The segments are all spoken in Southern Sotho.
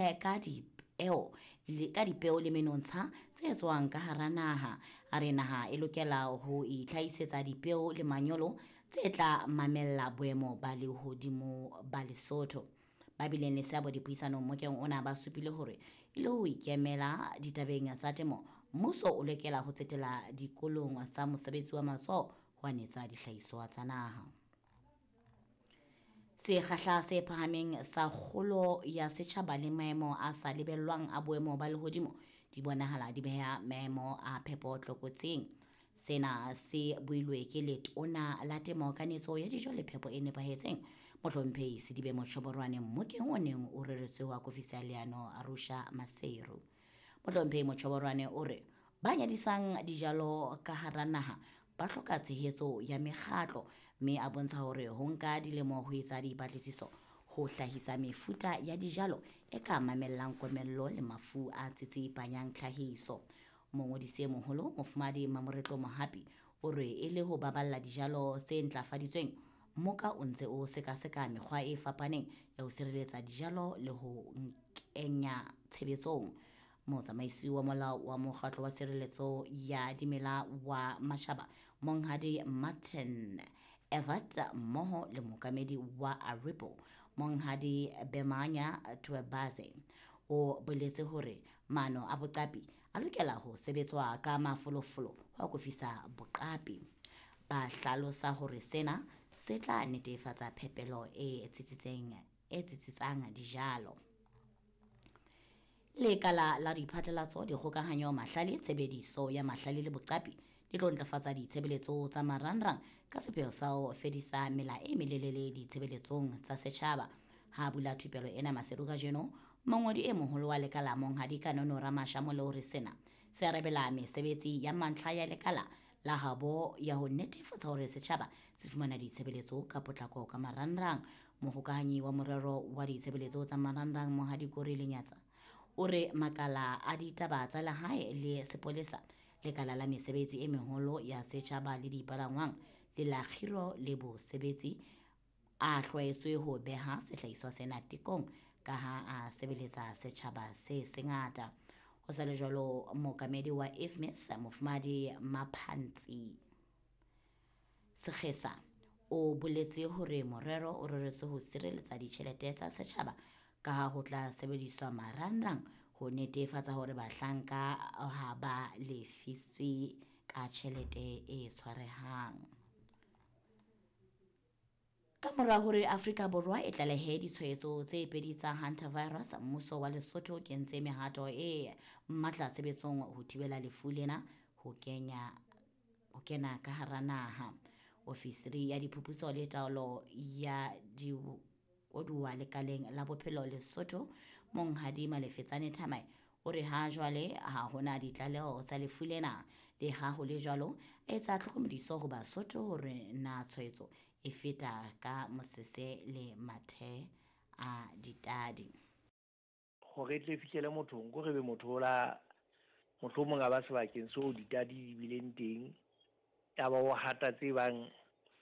Ka dipeo le ka dipeo le menontsha tse tswang ka hara naha. A re naha e lokela ho itlhahisetsa dipeo le manyolo tse tla mamella boemo ba lehodimo ba Lesotho. Ba bileng le seabo dipuisanong mokeng ona ba supile hore e le ho ikemela ditabeng tsa temo, mmuso o lokela ho tsetela dikolong tsa mosebetsi wa matsoho ho anetsa dihlahiswa tsa naha. Sekgahla se phahameng sa kgolo ya setjhaba le maemo a sa lebellwang a boemo ba lehodimo di bonahala di beha maemo a phepo tlokotsing. Sena se builwe ke Letona la Temo, Kanetso ya Dijo le Phepo e Nepahetseng, Mohlomphehi Sedibe Mochoboroane mmokeng o neng o reretswe ho akofisa leano Arusha Maseru. Mohlomphehi Mochoboroane o re ba nyadisang dijalo ka hara naha ba hloka tshehetso ya mekgatlo mme a bontsha hore ho nka dilemo ho etsa dipatlisiso ho hlahisa mefuta ya dijalo e ka mamellang komello le mafu a tsitsipanyang tlhahiso. Mongodisi e moholo Mofumahadi Mamoretlo Mohapi o re e le ho baballa dijalo tse ntlafaditsweng, mmoka o ntse o sekaseka mekgwa e fapaneng ya ho sireletsa dijalo le ho kenya tshebetsong. Motsamaisi wa molao wa mokgatlo wa tshireletso ya dimela wa matjhaba Monghadi Martin Evert mmoho le mookamedi wa Aripo Monghadi Bemanya Twebaze o boletse hore maano a boqapi a lokela ho sebetswa ka mafolofolo ho akofisa boqapi. Ba hlalosa hore sena se tla netefatsa phepelo e tsitsitseng e tsitsitsang dijalo. Lekala la diphatlalatso, dikgokahanyo, mahlale, tshebediso ya mahlale le boqapi di tlo ntlafatsa ditshebeletso tsa marangrang ka sepheo sa ho fedisa mela e melelele ditshebeletsong tsa setjhaba. Ha bula thupelo ena Maseru kajeno, mongodi e moholo wa lekala Monghadi Kanono Ramashamole o re sena se arabela mesebetsi ya mantlha ya lekala la habo ya ho netefatsa hore setjhaba se fumana ditshebeletso ka potlako ka marangrang. Mohokahanyi wa morero wa ditshebeletso tsa marangrang Monghadi Kori Lenyatsa o re makala a ditaba tsa lehae le sepolesa, lekala la mesebetsi e meholo ya setjhaba le dipalangwang le la kgiro le bosebetsi a hlwaetswe ho beha sehlahiswa sena tekong ka ha a sebeletsa setjhaba se sengata. Ho sa le jwalo, mookamedi wa IFMIS Mofumahadi Maphantsi Sekgesa o boletse hore morero o reretswe ho sireletsa ditjhelete tsa setjhaba ka ha ho tla sebediswa marangrang ho netefatsa hore bahlanka ha ba lefiswe ka tjhelete e tshwarehang. Ka mora hore Afrika Borwa e tlalehe ditshwaetso tse pedi tsa hantavirus, mmuso wa Lesotho o kentse mehato e matla tshebetsong ho thibela lefu lena ho kenya ho kena ka hara naha. Ofisiri ya diphuputso le taolo ya dikoduwa lekaleng la bophelo Lesotho, Monghadi Malefetsane Thamae, o re ha jwale ha hona ditlaleho tsa lefu lena. Le ha ho le jwalo, a etsa tlhokomediso ho Basotho hore na tshwaetso e feta ka mosese le mathe a ditadi. Hore e tle e fihlele mothong, ko re be motho o la mohlomong a ba sebakeng seo ditadi di bileng teng, ya ba o hata tse bang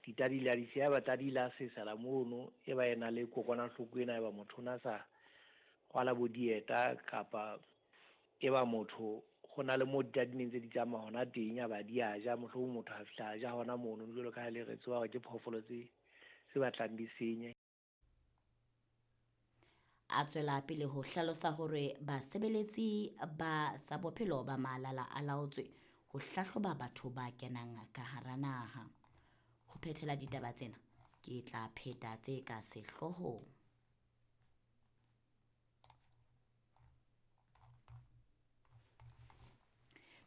ditadi la di siya, ba tadi la sesela mono, e ba ena le kokwanahloko ena, e ba motho o na sa rwala bo dieta kapa e ba motho ho na le mo ditadi neng tse di tsamaya hona teng, a ba di a ja, mohlomong motho a fihla a ja hona mono, jwalo ka ha le re tseba hore ke phoofolo tse tse batlang di senye. A tswela pele ho hlalosa hore basebeletsi ba tsa bophelo ba malala a laotswe ho hlahloba batho ba kenang ka hara naha. Ho phethela ditaba tsena, ke tla pheta tse ka sehloohong.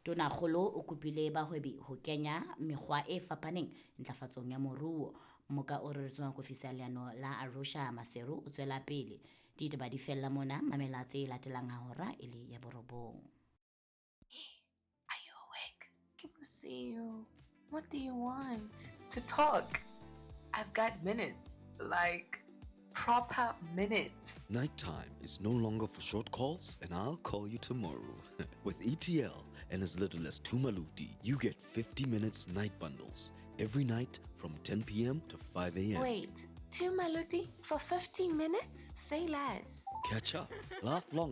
Tonakgolo o kopile bahwebi ho kenya mekgwa e fapaneng ntlafatsong ya moruo. Moka o reretsweng ho ofisi ya leano la Arusha Maseru o tswela pele. Ditaba di fella mona, mamela tse latelang ha hora e le ya borobong. Hey, are you awake? Ke bosiu. What do you want? To talk. I've got minutes. Like proper minutes. Nighttime is no longer for short calls, and I'll call you tomorrow. With ETL and as little as 2 maluti, you get 50 minutes night bundles every night from 10 p.m. to 5 a.m. Wait, 2 maluti for 15 minutes? Say less. Catch up, laugh longer.